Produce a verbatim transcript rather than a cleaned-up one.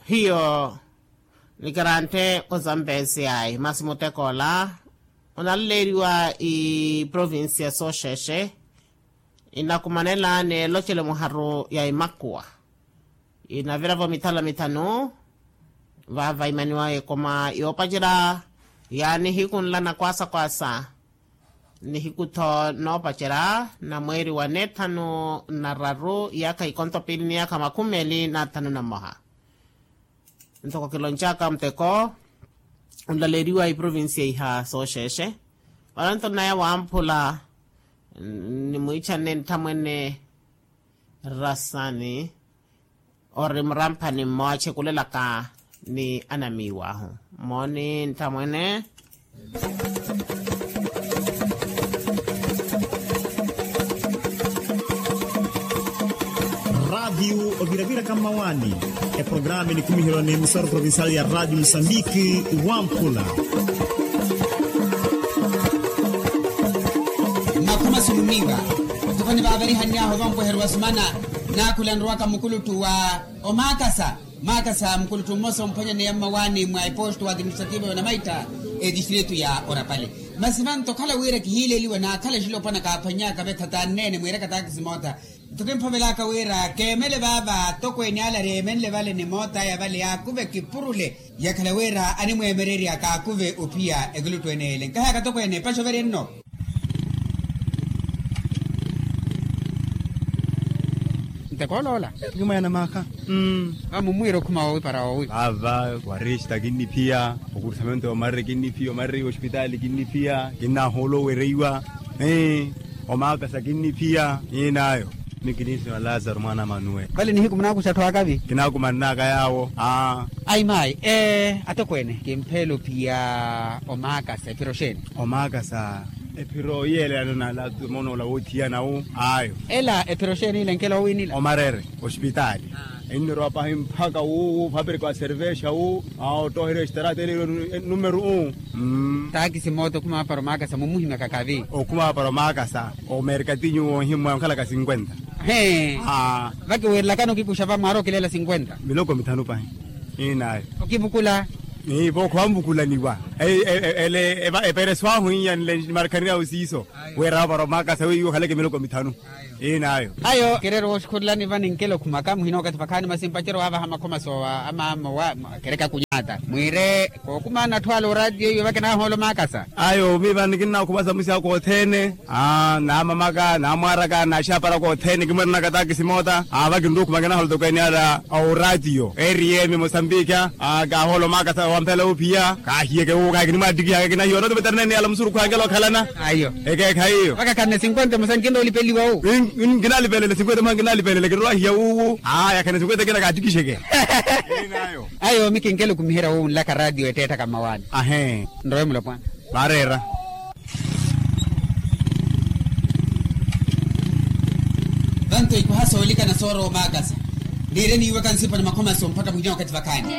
Hiyo ni karantte ozambesi ayi masi muteko ola onalaleeriwa iprovincia sooxeexe inakumanela n'elocelo muharu ya imakuwa inavira-vo mithala mithanu. Vaava imaniwa ekoma yoopacerya ya nihiku nla na kwaasa kwaasa nihiku-tho noopacerya na mweeri wa neethanu na raru yaakha ikonto piili ni yaakha makhumi meeli na thanu na mmoha. Ntoko kiloncaka muteko onlaleeriwa iprovincia iha sooxeexe. Olanto naya wamphula nimwiichanne nthamwene rasani ori muramphani mmoowa achekulelaka ni anamiiwahu. Mooni nthamwene. Raatiyu oviraviraka mmawaani. Eprogramu enikumiheryo n'emisoro provincial ya raatiyu musambiki wamphula. Makhuma suluminga. Ntukhani vaavarihannyahu vampweheryo vasumana. Naakhula nrowaka mukuluttu wa omaakasa. Maakasa mukuluttu mmosa omphwanyaneya mmawaani mwa eposto wa administrativo ya onamaitta etistritu ya orapale. Masi vanto okhala wira kihiileliwa naakhala exilopwana kaaphwannyaka vetha tanneene mwiiraka taakisi moota. Nto kimphovelaka wira keemele vaava atokweene ale areemenle vale ni moota aya vale yaakuve kipurule. Yakhala wira animweemererya kaakuve ophiya ekuluttu ene ele nkaheyaka atokweene epaxo veri enno. Ntekoola ola. Nkimaana maakha. Vamummwiira okhuma woowi para woowi. Vaava warista kinniphiya. Okursamento yomarere kinniphiya omarere yospitaali kinniphiya kinnahoolo owereiwa. Omaakasa kinniphiya. Inaayo. Mikinisima lazaro mwaana a manuwe. Vale nihiku munaakuxa atthu akavi. Kinaakumannaaka yaawo. Ayi maayi. Atokweene kimpheela ophiya omaakasa ephiro xeeni? Omaakasa ephiro yiyeelelana na lazaro moona ola woothiyana wu. Ayo. Ela ephiro xeeni ile nkela owiinila omarere. Ospitaali. Ennirowa pahi mpakha wu wu fapirika wa servexa wu. Ottoherya extaraata ele numero u. Taakisi moota okhuma vapara omaakasa mumuhimyaka kavi. Okhuma vapara omaakasa omerkatinyu woohimwa onkhalaka sinkwenta. He. Vakiwiirilakani okikuxa vamwaara okileela sinkwenta. Miloko mithanu pahi. Inaayo. Okivukula. Ivo okhowa nvukulaniwa. Ele epereso ahu iyanle nimarkhaniryahu siiso. Wira vapara omaakasa weiwo okhaleke miloko mithanu. Inaayo. Ayo kireera wooxukhulelani vani nkela okhumaka muhina okathi vakhaani masi mpacerya waavaha makhoma soowa amaamo wa kereka kunyata mwiire. Kookumaana atthu ala oraatiyo iwe vakinahoola omaakasa. Ayo miiva nikinnakhumasa musiya koothene. Naamamaka naamwaaraka naaxaparaka othene kimweeranaka taakisi moota. Vakinrukhumaka nahoola tokweene ala oraatiyo eriyemi mosambikha. Kaahoola omaakasa wamphela ophiya kaahiyeke wu kahikinimwaattikihaka kinahiwa noti veterinene ala musurukhu ankela okhalana. Ayo. Ekeekhayi iyo. Vakakhanne sinkwenta emosa nkinrowa olipeliwa wu. Nkinalipelele sinkwenta emosa nkinalipelele kinrowa hiya wuwu. Aya khane sinkwenta kina kaattikixeke. Ayo mikinkela okumiherya wu nlaka raatiyo ettettaka mmawaani. Ahe. Nrowe mulopwana. Vaareera. Vanto ikuha soolikana soorowa omaakasa. Niire niiwaka nsipa na makhomaso mpakha muhina wakathi vakhaani.